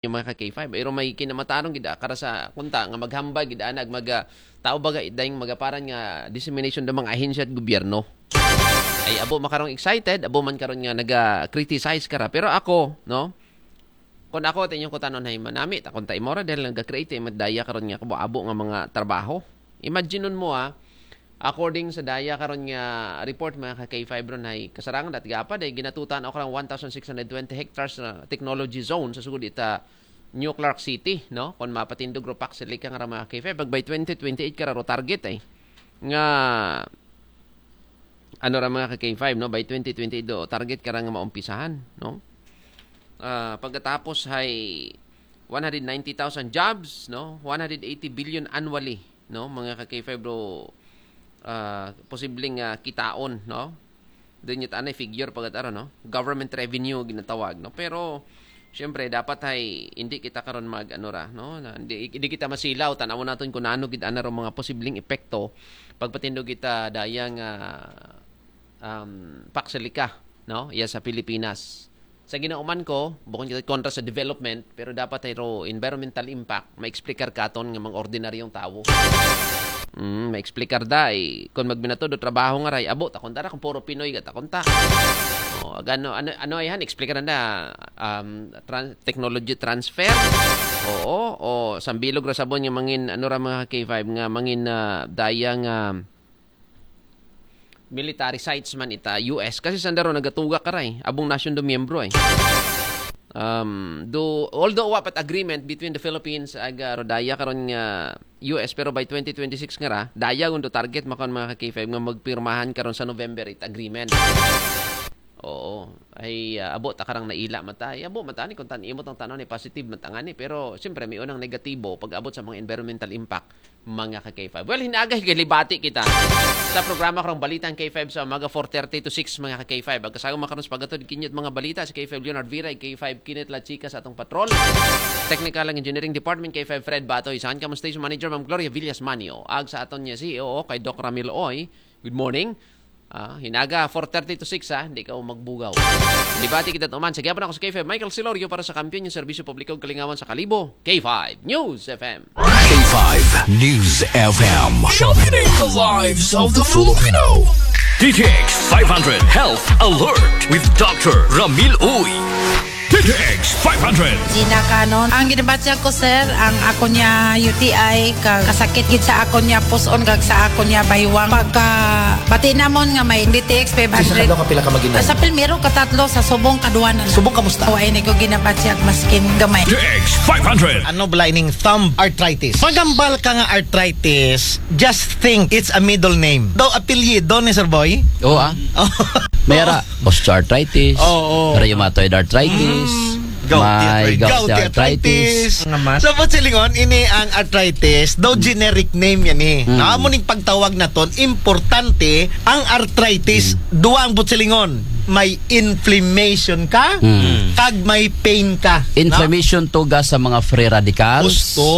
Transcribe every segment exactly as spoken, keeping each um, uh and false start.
yung mga ka-K five. Pero may kinamatarong gid, ah, kara sa kunta nga maghambal gid, anag mag, ah, tao ba ga-, dahil magaparan nga dissemination ng mga ahensya at gobyerno. Ay, abo makarong excited, abo man karon nga naga-criticize kara. Pero ako, no? Kung ako, at inyong kutanon ay manami, ta kung ta imo ra, dahil naga-create, eh, madaya karon nga kabo-abo nga mga trabaho. Imagine mo, ah, according sa daya karon nga report, mga ka-K five ron, ay kasarangan at gapa, dahil ginatutan ako ng one thousand six hundred twenty hectares na technology zone sa sugod ita New Clark City, no? Kung mapatindog ro pak sila ka nga ra, mga ka-K five, pag by twenty twenty-eight ka ra ro target, eh. Nga, ano ra, mga ka-K five, no? By twenty twenty-eight do, target ka ra nga maumpisahan, no? Ah, pagkatapos hay one hundred ninety thousand jobs, no? One hundred eighty billion annually, no? Mga ka-K five do, ah, posibleng, ah, kitaon, no? Doon yung tanay figure pagkataro, no? Government revenue ginatawag, no? Pero, siyempre, dapat ay hindi kita karon mag, ano ra, no? Na, hindi, hindi kita masilaw, tanaw naton kung ano gid ana ro mga posibleng epekto pagpatindog kita dayang, ah, um, paksilika, no? Iya sa Pilipinas. Sa ginauman ko, bukon kita kontra sa development, pero dapat ay ro environmental impact, ma-explicar katon nga mga ordinaryong tawo. Mm, ma-explicar da, eh, kung magbinato do trabaho nga ray, abo, takon ta ra kung puro Pinoy ka, takon ta. Oh, ag-, ano, ano, ano ay han, explicar na, um, tran-, technology transfer? Oo, o sambilog ra sabon nga mangin, ano ra, mga K five, nga mangin, ah, daya nga military sites man ita U S. Kasi sandaro nagatuga ka ray, abong nasyon do miyembro, eh. Um, do, although wa pat agreement between the Philippines ag, ah, Rodaya karon nga U S, pero by twenty twenty-six nga ra, daya gundo target makon, mga ka-K five, nga magpirmahan karon sa November eight agreement. Oo. Ay, ah, abo ta karang naila mata. Ay, abo mata ni kung tan-, imo tang tanan ni positive mata nga ni, pero siyempre may unang negatibo pag abot sa mga environmental impact, mga ka-K five. Well, hinagay galibati kita sa programa karong Balitang K five sa umaga, four thirty to six, mga ka-K five. Ag kasama karon sa paghatod kinyo mga balita si K five Leonard Vira, K five Kenneth Lachika sa atong patrol. Technical and Engineering Department, K five Fred Batoy. Sa kamo station manager, Ma'am Gloria Villas Manio. Ag sa aton niya C E O kay Doc Ramil Oy. Good morning. Ah, hinaga, four thirty to six, ha? Hindi ka magbugaw. Debate kita tuman. Sa gihapon ako sa K five, Michael Silorio para sa Kampiyon, yung Serbisyo Publiko ug Kalingawan sa Kalibo, K five News F M. K five News F M. Sharpening the lives of the Filipino. D T X five hundred Health Alert with Doctor Ramil Uy. D T X five hundred. Gina Canon. Ang ginabatyag ko, sir, ang ako niya U T I, ka-, kasakit gid sa ako niya puson, kag sa ako niya baywang. Pagka, pati namon nga may D T X five hundred. Sa kadlaw ka pila ka mag-inom? Sa pilmero, katatlo, sa subong, kaduwanan. Subong, kamusta? O, ay, ni ko ginabatyag, maskin gamay. D T X five hundred. Ano bala ining thumb arthritis? Pagambal ka nga arthritis, just think it's a middle name. Daw apelyido ni Sir Boy? Oo, ah. Oh. May ara, osteoarthritis, Oo. rheumatoid arthritis, Mm. Gouty may arthritis. gouty Gouty arthritis. arthritis. Nga man. Sa Butsilongon, ini ang arthritis, daw generic name yan eh. Mm. Na amo ning pagtawag naton, importante ang arthritis, Mm. duwa ang Butsilongon. May inflammation ka, Mm. kag may pain ka. No? Inflammation tuga sa mga free radicals. Gusto.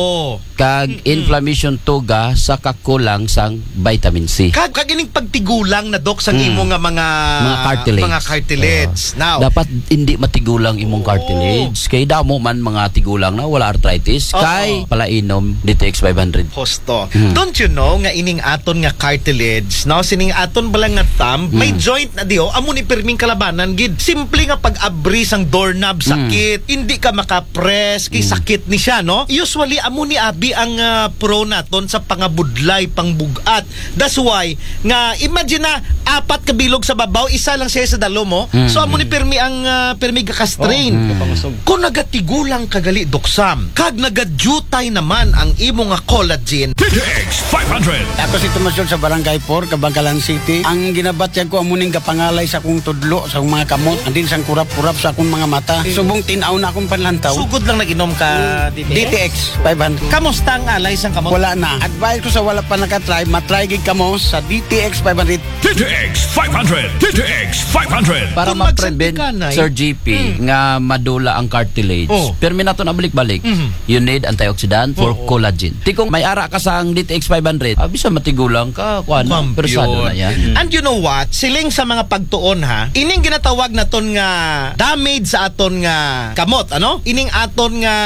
Kag Mm-mm. inflammation tuga sa kakulang sang vitamin C. Kag, kag ining pagtigulang na, Doc, sang Mm. imo nga mga, Mga cartilage. mga cartilage. Oo. Now, Dapat hindi matigulang imong Oo. cartilage. Kay damo man mga tigulang na wala arthritis. Oo. Kay palainom D T X five hundred. Husto. Mm. Don't you know nga ining aton nga cartilage, no? Sining aton bala nga thumb, may Mm. joint na diho, amo ni pirming kalabanan gid. Simple nga pag-abri sang doorknob, Mm. sakit. Hindi ka maka-press, kay Mm. sakit ni siya, no? Usually, amo ni abi ang, ah, pro naton sa pangabudlay, pangbug-at. That's why, nga, imagine na, apat ka bilog sa babaw, isa lang siya sa dalom, oh. Mm, So, amo ni mm. pirmi ang, ah, pirmi gaka-strain. Oh, Mm. kapangasog. Kung nagatigulang ka gali, Doc Sam, kag nagadutay naman ang imo nga collagen, D T X five hundred. Ako si Tomas George sa Barangay four, Kabankalan City. Ang ginabatyag ko, amo ning gapangalay sa akong tudlo, sa akong mga kamot, and then sang kurap-kurap sa akong mga mata. Mm. Subong tin-aw na akong panlantaw. Sugod lang nag-inom ka, Mm. D T X? D T X five hundred. Kamo, Basta ang alay sang kamot. Wala na. Advice ko sa wala pa nakatry, matry gid kamo sa D T X five hundred. D T X five hundred. D T X five hundred. Para Kung ma-prevent, magsandikanay, Sir G P, Mm. nga madula ang cartilage. Oh. Pero may nato na balik-balik. Mhm. You need antioxidant for Oh. collagen. Ti kung may ara ka sang D T X five hundred, ah, bisa matigulang ka, kuan na, Kuwan, persado pure. na yan. Mm. And you know what? Siling sa mga pagtuon, ha, ining ginatawag naton nga damage sa aton nga kamot, ano? Ining aton nga